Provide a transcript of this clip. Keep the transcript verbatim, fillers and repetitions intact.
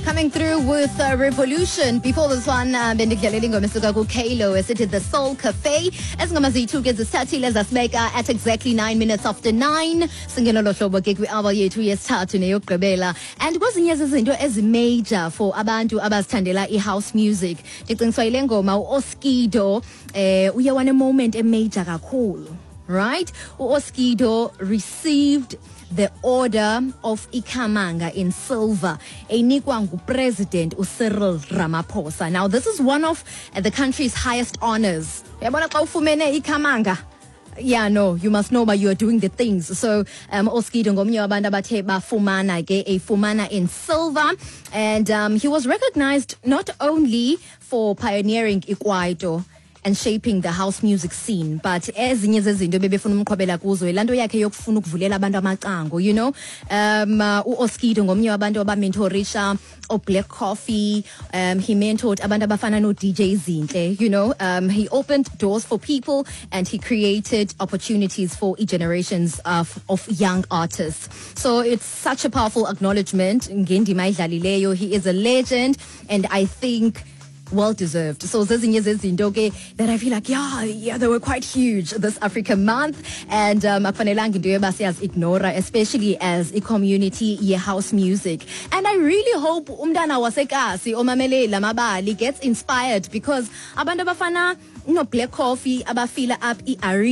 Coming through with uh, Revolution. Before this one, uh, bendidlalela ingoma esuka kuKalo esithi The Soul Cafe. Ezingoma ziyi-two ke zisithathile zasibeka at exactly nine minutes after nine. Singena lo hlobo ke kwi-hour yethu yesithathu neyokugqibela. And kwezinye zezinto ezi-major for abantu abazithandela i-house music. Ndicingiswa yile ngoma u-Oskido eh uye wane-moment e-major kakhulu. Right? U-Oskido received the Order of Ikamanga in silver enikwa ngupresident uCyril Ramaphosa. Now this is one of the country's highest honors. Uyabona xa ufumene ikamanga Yeah, no, you must know but you are doing the things. So, um, Oskido ngomnye wabantu abathe bafumana ke efumana in silver and um, he was recognized not only for pioneering ikwaito and shaping the house music scene but ezinye zezinto bebefuna umqhobela kuzo yilaa nto yakhe yokufuna ukuvulela abantu amacango you know um uh, uOskido ngomnye wabantu abamentorisha oBlack Coffee um he mentored abantu abafana no-DJ Zinhle you know um he opened doors for people and he created opportunities for generations of, of young artists so it's such a powerful acknowledgement ngendima ayidlalileyo he is a legend and i think well deserved. So zezinye zezinto ke that I feel like yeah, yeah, they were quite huge this Africa month and um akufanelanga into yoba siyazi-ignora especially as a community ye house music. And I really hope umntana wasekasi omamele lamabali gets inspired because abantu abafana no Black Coffee abafila up i